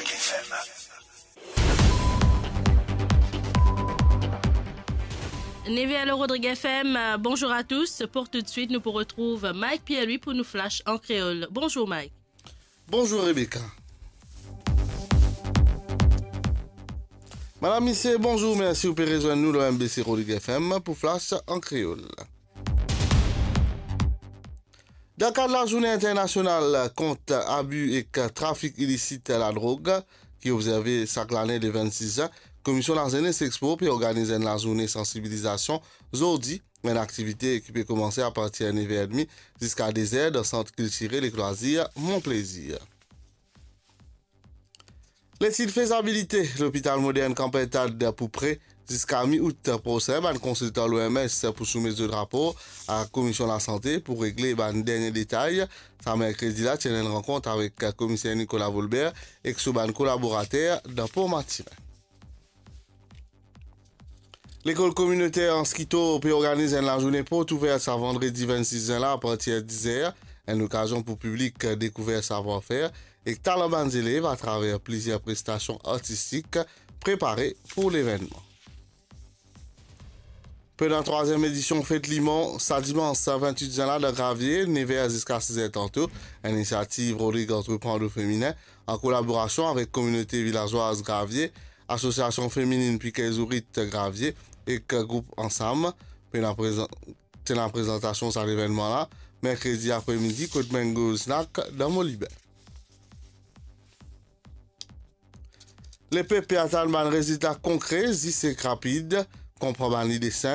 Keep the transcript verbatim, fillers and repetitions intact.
F M. Nev er lor Rodrigues F M, bonjour à tous. Pour tout de suite, nous pour retrouve Mike Pierre-Louis pour nous flash en créole. Bonjour Mike. Bonjour Rebecca. Madam, misie, bonzour, mersi ou pe rezwenn nou lor M B C Rodrigues F M pou Flash an Kreol. Dan kad lazourne internasional kont abi ek trafik ilisit ladrog, ki obzerve sak lane le vennsis zin, Komisyon Lazenes Expo pe organiz enn lazourne sansibilizasion zordi, enn aktivite ki pe koumanse apartir nef er edmi ziska de zer dan Sant Kiltirel ek Lwazir Mon Plezir. Letid fezabilite lopital modern Kanpertad pou pre ziska mi-out prosin. Bann konsiltan L O M S pou soumet zot rapor a Komisyon Lasante pou regle bann dernie detay. Sa merkredi la, ti ena enn rankont avek Komiser Nicolas Volbert ek so bann kolaborater dan Port Mathurin. Lekol kominoter Anskito pe organiz enn lazourne port ouver sa vandredi vennsis zin la apartir diz er, enn okazion pou piblik dekouver savwar-fer ek talan bann zelev atraver plizier prestasion artistik prepare pou levennman. Pandan trwaziem edision Fet Limon, sa dimans vennwit zin la dan Gravie, nef er ziska siz er tanto, enn inisiativ Rodrig Antreprendre Feminin, an kolaborasion avek Kominote Vilazwaz Gravie, Asosiasion Femininn Piker Zourit Gravie ek group Ansam, pena prezan-, ti ena prezantasion sa levennman la, merkredi apremidi, kot Mango Snack dan Moliben. Lepep pe atann bann rezilta konkre, zis ek rapid, konpran bann lide sinp,